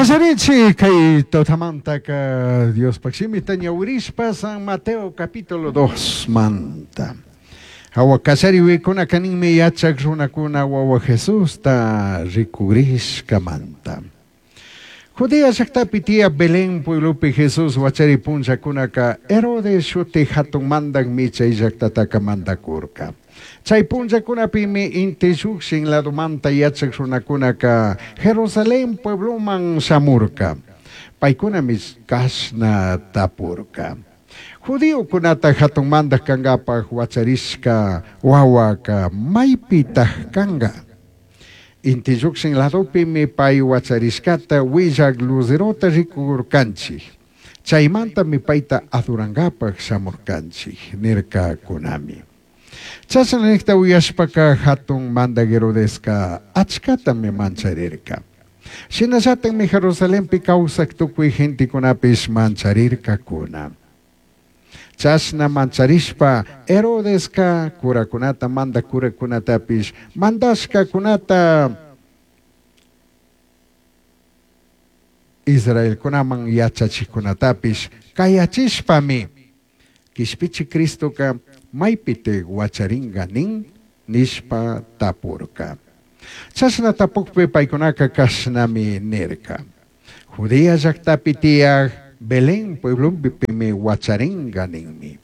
Kallarichi kay tutamantaka Diospaj shimita ñawirishpa San Mateo capítulo 2 manta. Hawa kallariwikunaka ninmi yachak runakuna wawa Jesusta rikugrishkamanta. Judea llaktapi tiyak Belén pueblopi Jesús wachari punllakunaka Herodes shuti hatun mandakmi chay llaktataka mandakurka. Chay punllakunapimi inti llukshin ladomanta yachak runakunaka Jerusalén puebloman shamurka. Paykunami kashna tapurka. Judiokunata hatun mandak kankapak wacharishka wawaka maypitak kanka? Inti llukshin ladopimi pay wacharishkata willak luzerota rikurkanchik. Chaymantami payta adorankapak shamurkanchik nirkakunami. Chashna nikta uyashpaka hatun mandak Herodeska achkatami mancharirka. Shinallatakmi Jerusalenpi kawsak tukuy gentekunapish mancharirkakuna. Chashna mancharishpa Herodeska kurakunata mandak kurakunatapish mandashkakunata Israelkunaman yachachikkunatapish kayachishpami Kishpichi Cristoka maypitik wacharinka nin nishpa tapurka. Chashna tapukpi paykunaka kashnami nirka. Judea llaktapi tiyak Belén pueblopimi wacharinka ninmi.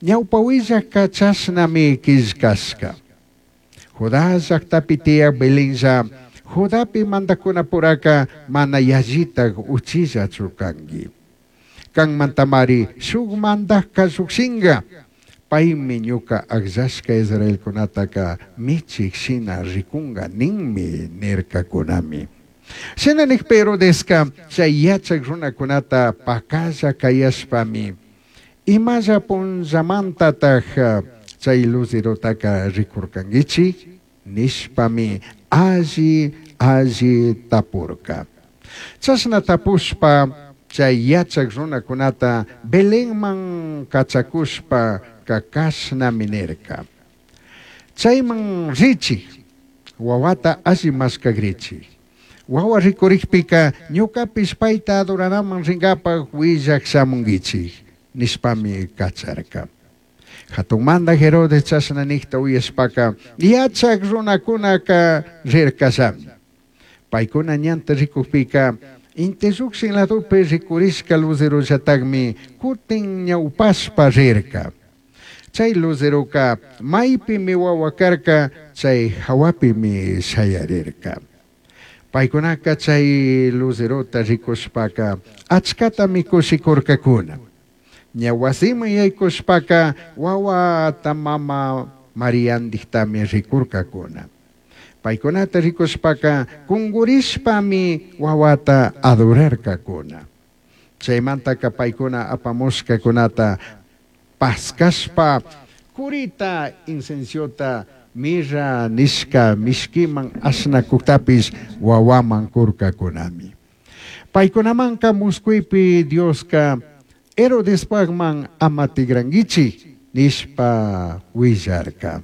Ñawpa willakka chashnami killkashka. Judá llaktapi tiyak Belenlla Judapi mandakunapuraka mana yallitak uchillachu kanki. Kanmantamari shuk mandakka llukshinka. Paymi ñuka akllashka Israelkunataka michik shina rikunka ninmi nirkakunami. Shina nikpi Herodeska chay yachak runakunata pakalla kayashpami imalla punllamantatak chay luzerotaka rikurkankichik nishpami alli alli tapurka. Chashna tapushpa chay yachak runakunata Belenman kachakushpa kashnami nirka. Chayman richik, wawata alli mashkagrichik. Wawa rikurikpika ñukapish payta adoranaman rinkapak willak shamunkichik nishpami kacharka. Hatun mandak Herodes chashna nikta uyashpaka yachak runakunaka rirkallami. Paykuna ñanta rikukpika inti llukshin ladopi rikurishka luzerollatakmi kutin ñawpashpa rirka. Chay luzeroka maypimi wawa karka chay hawapimi shayarirka. Paykunaka chay luzerota rikushpaka achkatami kushikurkakuna. Ña wasiman yaykushpaka wawata mama Mariandiktami rikurkakuna. Paykunata rikushpaka kungurishpami wawata adorarkakuna. Chaymantaka paykuna apamushkakunata paskashpa kurita incenciota mirra nishka mishkiman ashnakuktapish wawaman kurkakunami. Paykunamanka muskuypi Dioska Herodespakman ama tigrankichik nishpa willarka.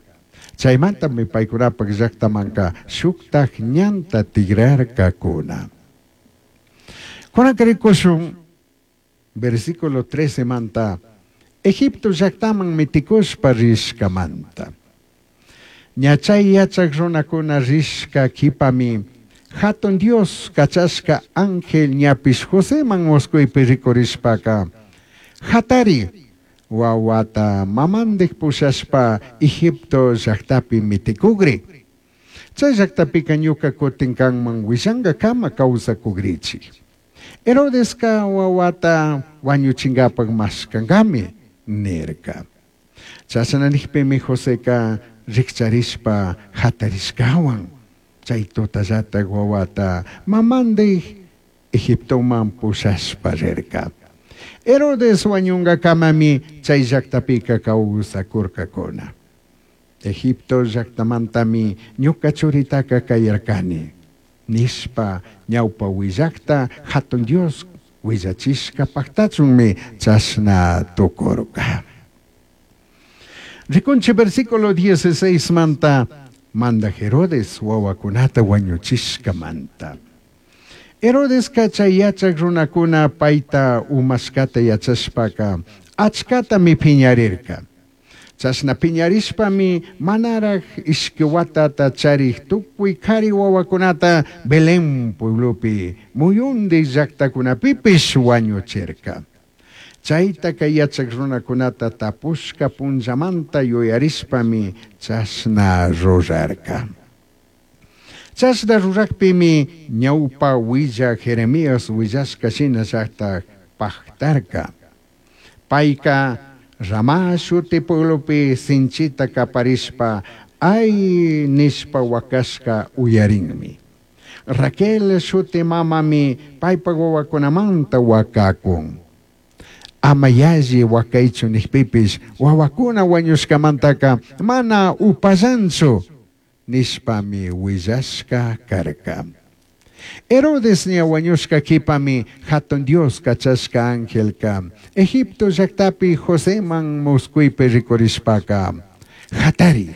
Chaymantami paykunapak llaktamanka shuktak ñanta tigrarkakuna. Kunanka rikushun versículo 13 manta Egipto llaktaman mitikushpa rishkamanta. Ña chay yachak runakuna rishka kipami hatun Dios kachashka ángel ñapish Joseman muskuypi rikurishpaka hatari wawata mamandik pushashpa Egipto llaktapi mitikugri. Chay llaktapika ñuka kutin kanman willankakama kawsakugrichik. Herodeska wawata wañuchinkapak mashkankami nirka. Chashna nikpimi Joseka rikcharishpa hatarishkawan chay tutallatak wawata mamandik Egiptoman pushashpa rirka. Herodes wañunkakamami chay llaktapika kawsakurkakuna. Egipto llaktamantami ñuka churitaka kayarkani nishpa ñawpa willakta hatun Dios willachishka paktachunmi chashna tukurka. Rikunchi versículo 16 manta manda Herodes wawakunata wañuchishkamanta. Herodesca chay yachaj runacuna paita umashcata yachashpaca achcatami piñarirca. Chashna piñarishpami manaraj ishqui huatata charij tucui cari huahuacunata Belén pueblopi muyundij llajtacunapipish huañuchirca. Chaitaca yachaj runacunata tapushca punllamanta yuyarishpami chashna rurarca. Chashna rurajpimi ñaupa huillaj Jeremías huillashca shinallataj pajtarca. Paica Ramá shuti pueblopi sinchita caparishpa ay nishpa huacashca uyarinmi. Raquel shuti mamami paipaj huahuacunamanta huacacun. Ama yalli huacaichu nijpipish huahuacuna huañushcamantaca mana upallanchu nishpami huillashca carca. Herodes ña huañushca quipami Jatun Dios cachashca angelca Egipto llajtapi Joseman muscuipi ricurishpaca jatari,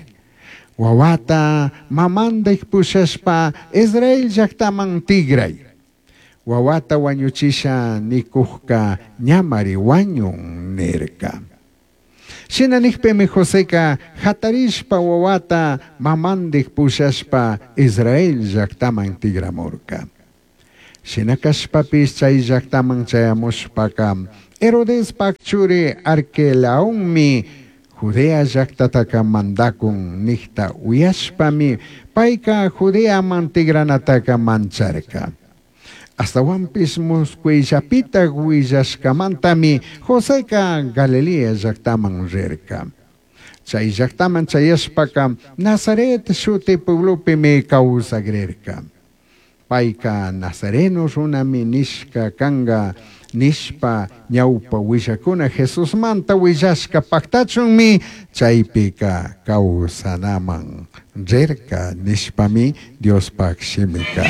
huahuata mamandij pushashpa Israel llajtaman tigrai. Huahuata huañuchisha nicujca ñamari huañun nirca. Shina nijpimi Joseca jatarishpa huahuata mamandij pushashpa Israel llajtaman tigramurca. Shina cashpapish chay llajtaman chayamushpaca Herodespaj churi Arquelaonmi Judea llajtataca mandacun nijta uyashpami paica Judeaman tigranataca mancharca. Ashtahuanpish muscuillapitaj huillashcamantami Joseca Galilea llajtaman rirca. Chai llajtaman chayashpaca Nazaret shuti pueblopimi causagrirca. Paica Nazareno runami nishca canga nishpa ñaupa huillacuna Jesusmanta huillashca pajtachunmi chaipica causanaman rirca nishpami Diospaj shimica.